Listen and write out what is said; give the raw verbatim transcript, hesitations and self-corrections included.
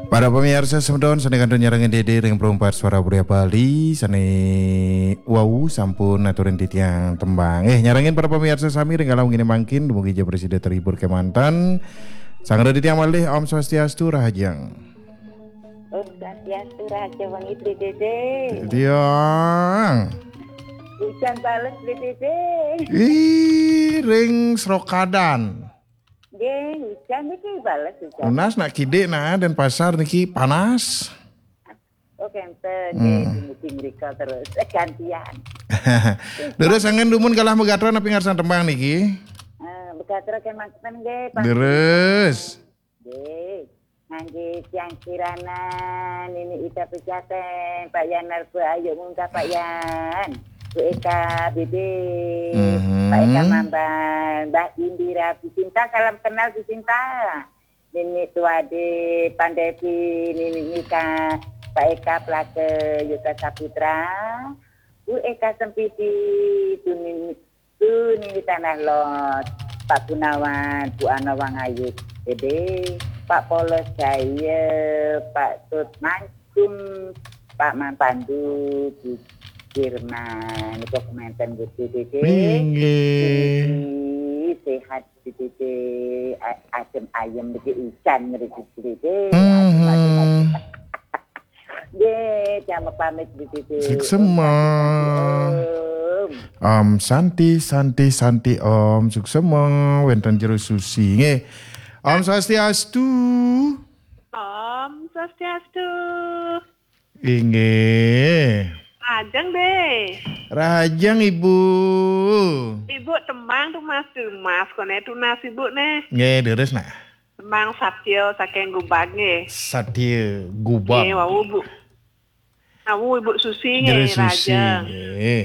Para pamiarsa semeton, sane kantun nyarengin Dede ring Perumpat Suara Budaya Bali, sane wau sampun aturin titiang tembang. Eh, nyarengin para pamiarsa sami ring galah wengi mangkin, dumugi ja prasida terhibur kemanten. Sanggra titiang malih, Om Swastiastu, rahajeng. Om Swastiastu, rahajeng wengi, Bli Dede. Tiang. Ujan bales, Bli Dede. Ih, ring Srokadan. Nggih, hujan niki bales hujan. Tunas nak kidik nah, Denpasar niki panas. Oh, kenten. Hmm. Nggih, dumugi mrika terus. Eh, gantian. Leres, anggen dumun galah magatra napi ngarsan tembang niki? Eh, magatra kemanten nggih, Pak. Leres. Nggih. Nggih, tiang Kirana, Nini Ida Pejaten, Pak Yan Narba, ayo munggah Pak Yan. Bu Eka Bebe, mhm, Pak Eka Mamban, Mbak Indira Bisinta, salam kenal Bisinta. Nini Tuade, Pandepi, Nini Nika, Pak Eka Plake, Yuta Saputra, Bu Eka Sempidi, Bu Nini, Bu Nini Tanah Lot, Pak Gunawan, Bu Ana Wangayit, Dede, Pak Polos Jaya, Pak Tut Mangkum, Pak Man Pandu, Bu Firman, niku kemanten Bu Dede. Inggih. Sehat Dede, a-, adem ayem niki, ujan ngriki Dede. Mhm. Adem ayem. Nggih, damel pamit Dede. Suksema. Om Santi, Om. Om Santi, Santi, Santi, Om. Suksema, wenten jero susi. Nggih. Om Swastiastu. Om Swastiastu. Inggih. Ajeng, Dé. Rahajeng, Ibu. Ibu tembang tunas-tunas, koné tunas Ibu né. Nggih, leres, nah. Tembang Satya saking Gubag nggih. Satya Gubag. Nggih, wau, Bu. Wau Ibu Susi nggih, Jero Susi, rahajeng. Nggih.